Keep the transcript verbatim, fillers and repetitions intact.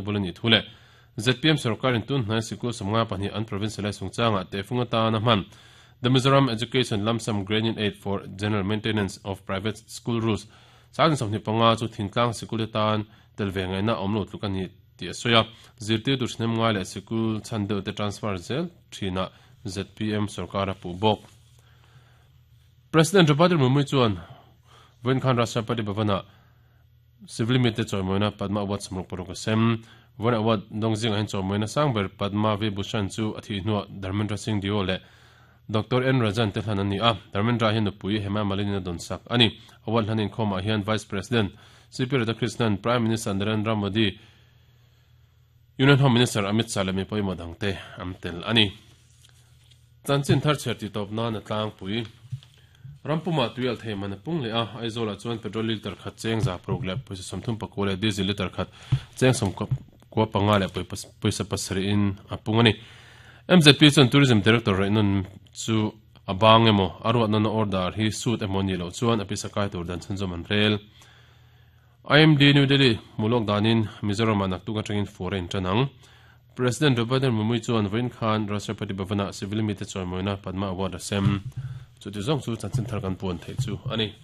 bul ani thu le Z P M sarkarin tun hnai sikul sawmnga pahnih an provincialize chungchangah tehfung atana hman The Mizoram Education Lump Sum Grant Aid for General Maintenance of Private School Rules sangin sawmhnih panga chu thingtlang sikul te tan tel ve ngaihna awm lo tluk a ni tih a sawi a, zirtirtu thahnem ngai leh sikul chhan deuh te transfer zel thinah Z P M sarkar a puh bawk. President Draupadi Murmu chuan vawiin khan Rashtrapati Bhavan-ah civil mite chawimawina Padma Award sawmruk paruk a sem. Vawiin award dawng zingah hian chawimawina sang ber Padma Vibhushan chu a thih hnuah Dharmendra Singh Deo leh Doctor N Rajan te hlan an ni a, Dharmendra hian nupui Hema Malini a dawn sak a ni. Award hlan inkhawmah hian Vice President C P Radhakrishnan, Prime Minister Narendra Modi, Union Home Minister Amit Shah leh mi pawimawh dangte an tel a ni. Chanchin thar chhiar tih tawp nan a tlangpui. Rampumah tui alh thei man a pung leh a, Aizawlah chuan petrol litre khat cheng za paruk leh pawisa sawmthum pakua leh diesel litre khat cheng sawmkua panga leh pawisa pasarih in a pung a ni. M Z P chuan Tourism Director Raihnawn chu a bang emaw a ruatnawn a order hi suit emaw nih loh chuan a pisa kai tur dan chhunzawm an rel. I M D New Delhi hmuhlawk danin Mizoramah naktuk atangin fur a intan ang. President Draupadi Murmu chuan vawiin khan Rashtrapati Bhavan-ah civil mite chawimawina Padma Award a sem. Chuti zawng chu chanchin thar kan puan theih chu a ni.